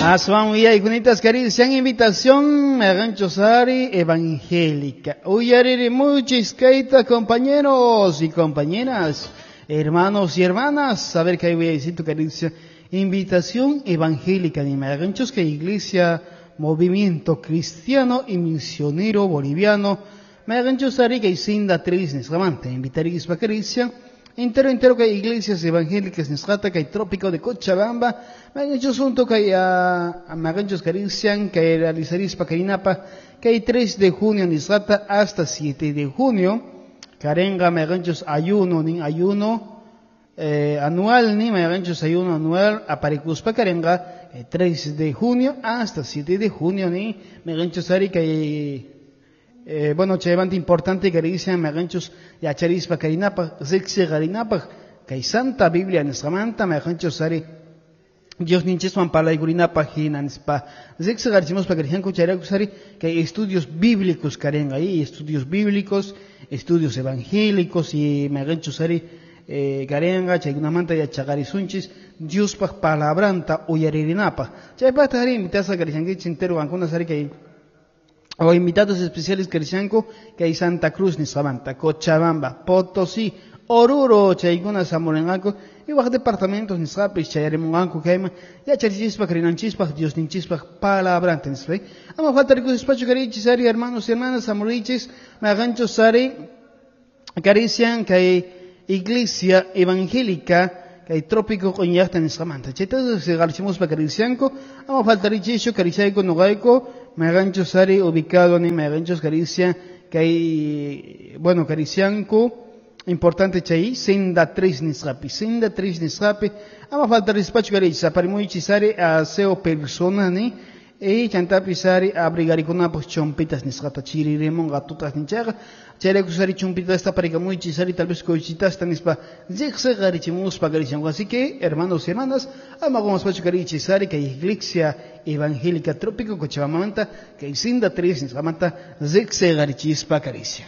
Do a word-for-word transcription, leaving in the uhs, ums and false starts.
Aswan uyaykunita karisian invitación Magancho Sari evangélica. Uyariri muchis kaita compañeros y compañeras, hermanos y hermanas, a ver que voy a decir tu caricia. Invitación evangélica ni Maganchos que Iglesia Movimiento Cristiano y Misionero Boliviano Magancho Sari que isinda tres nisgamante invitaris pa caricia. Entero entero que hay iglesias evangélicas nisqata que hay trópico de Cochabamba maganchos junto que hay a maganchos carician que realizaris pacarinapa que hay tres de junio nisqata hasta siete de junio carenga maganchos ayuno nin ayuno eh, anual ni maganchos ayuno anual aparicuspa carenga eh, tres de junio hasta siete de junio ni maganchos ari que hay Eh, bueno, chaybanta importante que dicen maganchos yacharispa karinapa, zexi garinapa, kay Santa Biblia nisqamanta maganchos ari Dios ninchiswan palaykurinapa hinanispa zexi garichimuspa karijanku chayrakus ari kay estudios bíblicos karenga ahí, estudios bíblicos, estudios evangélicos y maganchos ari eh, karenga chaykunamanta yachaqarisunchis Diospaq palabranta uyaririnapaq chaypaqta ari invitasqa karijankichis entero qankunas ari kay o invitados especiales Caricianco, que hay Santa Cruz, Nisabanta, Cochabamba, Potosí, Oruro, Chayguna, Zamorenanco, y bajo departamentos Nisapis, Chayaremunanco, Caima, ya Charichispa, Carinanchispa, Dios Ninchispa, Palabrante, Nispe. Ama falta ricos despacho, Carichis, Ari, hermanos y hermanas, Zamorichis, Magancho, Sari, Carician, que hay Iglesia Evangélica, que hay trópico con yachta nisqamanta. Chayta se garchimos pa Caricianco, ama falta richisho, Cariciaico, Nogaico, Magancho Sari, ubicado en Maganchos Caricia, que hay, bueno, Caricianco, importante chay, senda tres nisqapi, senda tres nisqapi, ama falta despacho caricia, aparimuichi sari, aseo persona, ni, e chantapi sari, abrigarikuna, pues chompitas nisqata, chiriremon, gatutas ninchaga, chayrayku sari chompitas taparicamuichi sari, tal vez cochitas tanispa, zigzag garichimuspa caricianco. Así que, hermanos y hermanas, ama como despacho carichi sari, que Iglesia Evangélica Trópico Cochabamba, que sinda tres nisqamanta, zigzag garichispa caricia.